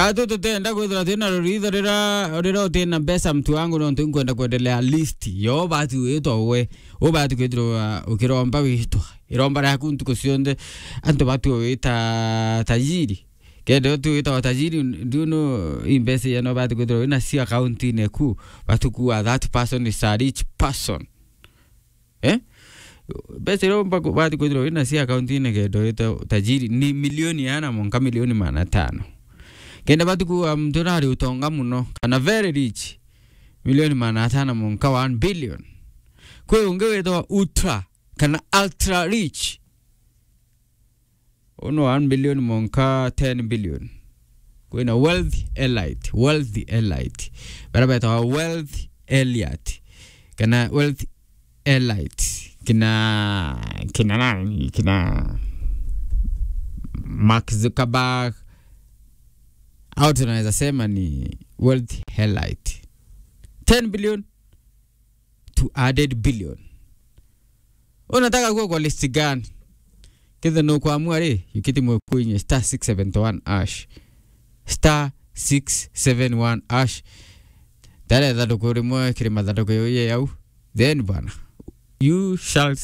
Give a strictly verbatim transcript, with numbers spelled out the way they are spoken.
Atu tutenda kwithirwa twina ruritho rira, rira utina mbeca, mtu wangu, nontu nkwenda kwendelea list yo bati witwa we. Ubati kwithirwa ukiromba witwa. Iromba riaku ntuku cionthe, antu batu wita tajiri. Kenda tu wita tajiri, ndiuno imbeca ya no bati kwithirwa wina cio account-ini ku, batu kuwa that person is a rich person. Eh? Mbeca iria umba ku-, bati kwithirwa wina cio account-ini kenda wita tajiri ni milioni ana monka milioni magana atano. Kenda bati kuwa mtu nari utonga muno, kana very rich, milioni magana atano monka one billion. Kwi ungi witwa ultra, kana ultra rich. Uno one billion monka ten billion. Kwina wealth elite, wealth elite. Bara betawa wealth elite. Kana wealth elite. Kina, kina nani? Kina Mark Zuckerberg. Au tunaweza sema ni wealth elite. Ten billion to added billion. Unataka kuwa kwa list gani? Kithe no kwamua ri, yukiti mwe kuinye star six seven one hash. Star six seven one hash. Tare thatuku rimwe kiri mathathuku yoye yau. Then bwana, you shall